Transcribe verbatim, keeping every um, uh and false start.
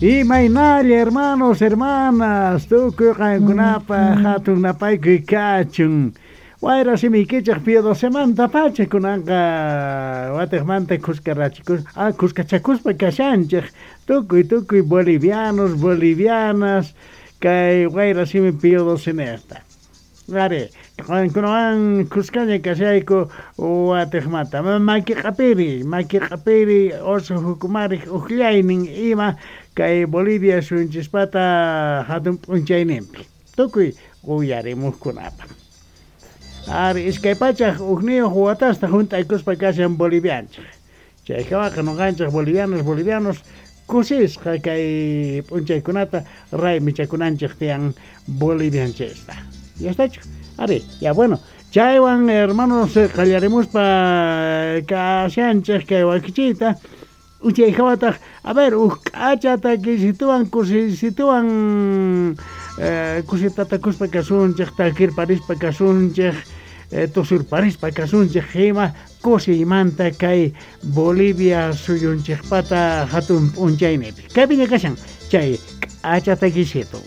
Imaynalla hermanos, hermanas, tukuy qankunapaq hatun napaykuy kachun. Wayra simiykichej Pío docemanta pacha kunanqa watiqmanta khuskarachikus ah, khuskachakuspa kashanchej tukuy tukuy bolivianos, bolivianas kay wayra simi Pío docenejta. Ari, qankunawan khuskaña kashayku watiqmanta. Maki q'apiri, maki q'apiri oso jukumarik uqllaynin ima kay Bolivia suyunchispata hatun p'unchayninpi. Tukuy uyarimuqkunapaq. Ari, iskay pachaj ujniyuq watasta junt'aykuspa kashan bolivianchej. Chaykawaqa nuqanchej bolivianos, bolivianos kusisqa kay p'unchaykunata raymichakunanchej tiyan bolivianchista. Ya está hecho. Ari, ya bueno. Chaywan hermanos qallarimuspa kashanchej kay wakichiyta. Uchayjawataq, a ver, uj k'acha takisituwan kusisituwan eh, kusitatakuspa kasunchej, takirparispa kasunchej, eh, tusurparispa kasunchej ima kusiymanta kay Bolivia suyunchejpata hatun p'unchaynipi. Kaypiña kashan chay k'acha takisitu.